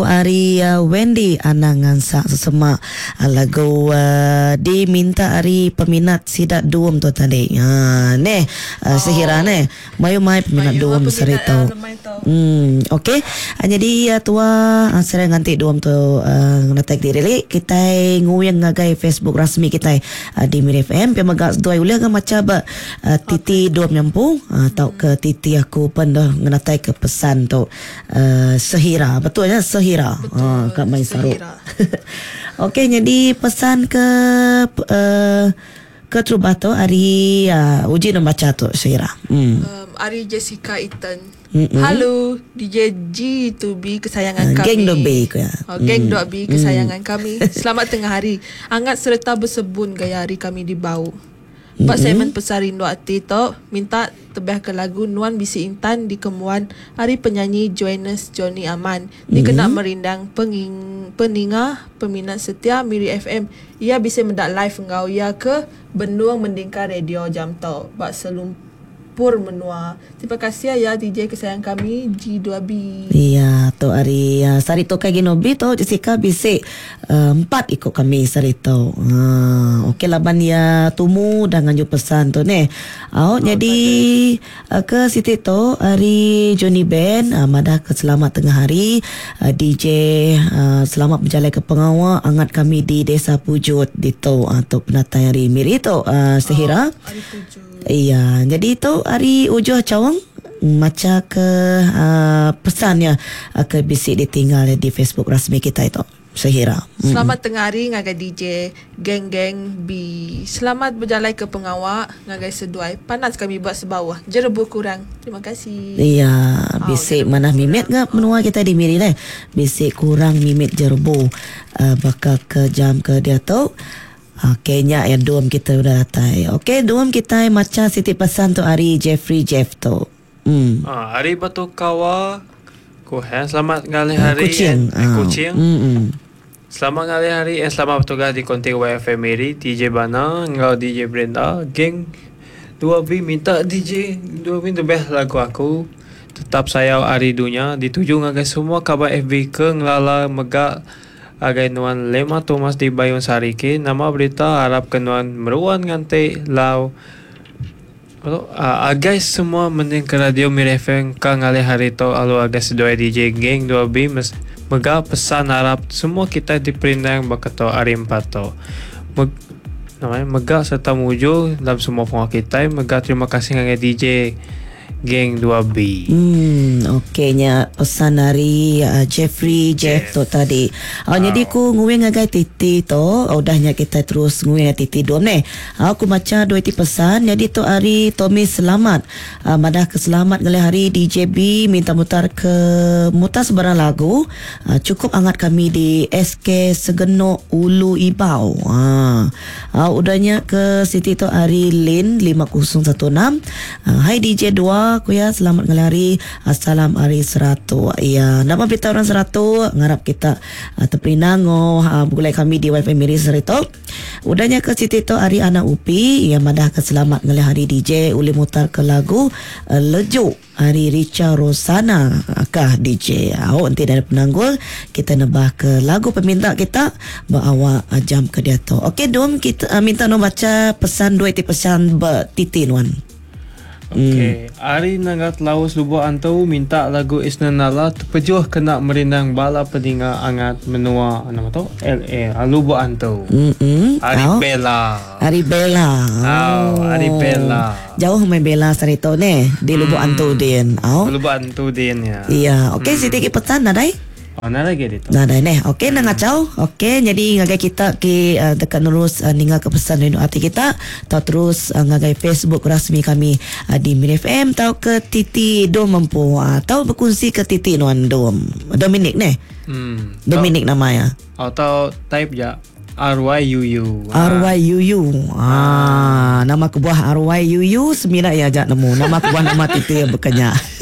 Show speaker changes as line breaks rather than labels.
Ari Wendy Anang ngansak sesema lagu diminta ari peminat sida Dum tu tadi. Ha neh Sehira neh mayuh mai peminat Dum sehari tu. Em okey nyadi tua sehari nganti Dum tu ngenatai kediri li kitai nguing ngagai Facebook rasmi kitai di Miri FM pia mega seduai ulih ga macha ba titi Dum nya empu tauka titi aku pen ngenatai ke pesan tu. Sehira betul nya Sehira ha ka mai saru. Okey nyadi pesan ke ke terubah tu ari uji ne macha tu Sehira.
Em ari Jessica Ethan. Halo DJ G2B kesayangan kami.
Geng 2B ku iya.
Oh, geng 2B kesayangan kami. Selamat tengah hari. Angat sereta besebun gaya hari kami di Bau. Ba segmen Pesan Rindu Ati tu, minta tebahka lagu Nuan Bisi Intan dikembuan ari penyanyi Joannes Johnny Aman dikena merindang peninga peminat setia Miri FM. Iya bisi meda live enggau iya ke benung mendingka radio jam tu ba selumpur menua. Terima kasih aya DJ kesayang kami G2B.
Iya tu ari sehari tu kai Ginobi tu Jessica bisi Empat iku kami saritu. Haa ok laban iya tumu udah nganju pesan tu neh. Au nyadi ke siti tu ari Johnny Ben madah ke selamat tengah hari DJ selamat bejalai ke pengawa angat kami di Desa Pujut ditu. Tu penatai ari Miri tu Sehira. Iya nyadi tu ari Ujuh Chaung macha ke pesan iya ke bisi ditinggal di Facebook rasmi kitai tu. Sehira.
Selamat tengah hari ngagai DJ geng geng B. Selamat bejalai ke pengawa ngagai seduai panas kami ba sebauh jerebu kurang. Terima kasih.
Iya bisi manah mimit ga menua kitai di Miri deh. Bisi kurang mimit jerebu baka ke jam ke diatu. Ok nya iya dum kitai udah datai. Ok dum kitai macha siti pesan tu ari Jeffrey Jeff tu.
Hmm. Ari Batu Kawa ku he selamat ngalih hari
Kuching.
Eh, Kuching. Hmm. Selamat ngalih hari and selamat bertugas di konti YFM Miri DJ Bana enggau DJ Brenda geng 2B minta DJ 2B the best lagu aku tetap sayau ari dunya dituju ngagai semua kaban FB ke ngelala mega agai nuan Lema Thomas di Bayun Sariki nama berita arap ke nuan meruan nganti lau Agai semua mending ke radio Miri FM ka ngalih hari tu alu agai seduai DJ geng 2B mega pesan arap semua kitai diperindang baka tu hari empat tu. Mega serta mujur dalam semua pengawa kitai mega terima kasih ngagai DJ Geng 2B.
Hmm ok nya pesan ari Jeffrey Jeff tu tadi. Au nyadi ku nguing ngagai titi tu udah nya kitai terus nguing ngagai titi dom neh. Au ku macha dua iti pesan nyadi tu ari Tommy Selamat madah ke selamat ngalih hari DJB minta mutar ke mutar sebarang lagu chukup angat kami di SK Segenok Ulu Ibau. Haa. Au udah nya ke siti tu ari Lin 5016. Hai DJ dua ku iya selamat ngalih hari salam ari Seratok. Iya nama berita orang Seratok ngarap kita teperindang enggau begulai kami di WiFi Miri sehari tu. Udah nya ke siti tu ari Anak Upi iya madah ke selamat ngalih hari DJ ulih mutar ke lagu Lejuk. Ari Richa Rosana kah DJ. Au enti nadai penanggul kita nebah ke lagu peminta kita ba awak jam ke diatu. Okey dom kita minta nuan bacha pesan dua iti pesan ba titi nuan.
Okey, ari Nanga Telaus Lubok Antu minta lagu Isna Nala tepejuh kena merindang bala peninga angat menua nama tu LA Lubok Antu. Ari Bella.
Ari Bella.
Au, ari Bella.
Jauh mai Bella sehari tu neh di Lubok Antu din.
Au. Lubok Antu din ya.
Iya, okey siti agi pesan nadai?
Oh, nadai agi ditu.
Nadai neh. Okey enda ngachau. Okey nyadi ngagai kita ke deka nerus ninga ke pesan rindu ati kita tau terus ngagai Facebook rasmi kami di Miri FM tauka TT Dom empu. Tau bekunsi ke TT nuan Dom. Dominic neh.
Hmm.
Dominic nama iya.
Atau type ja RYUU.
RYUU. Ah, nama kebuah RYUU semina iya aja nemu. Nama kebuah nama titi iya baka nya.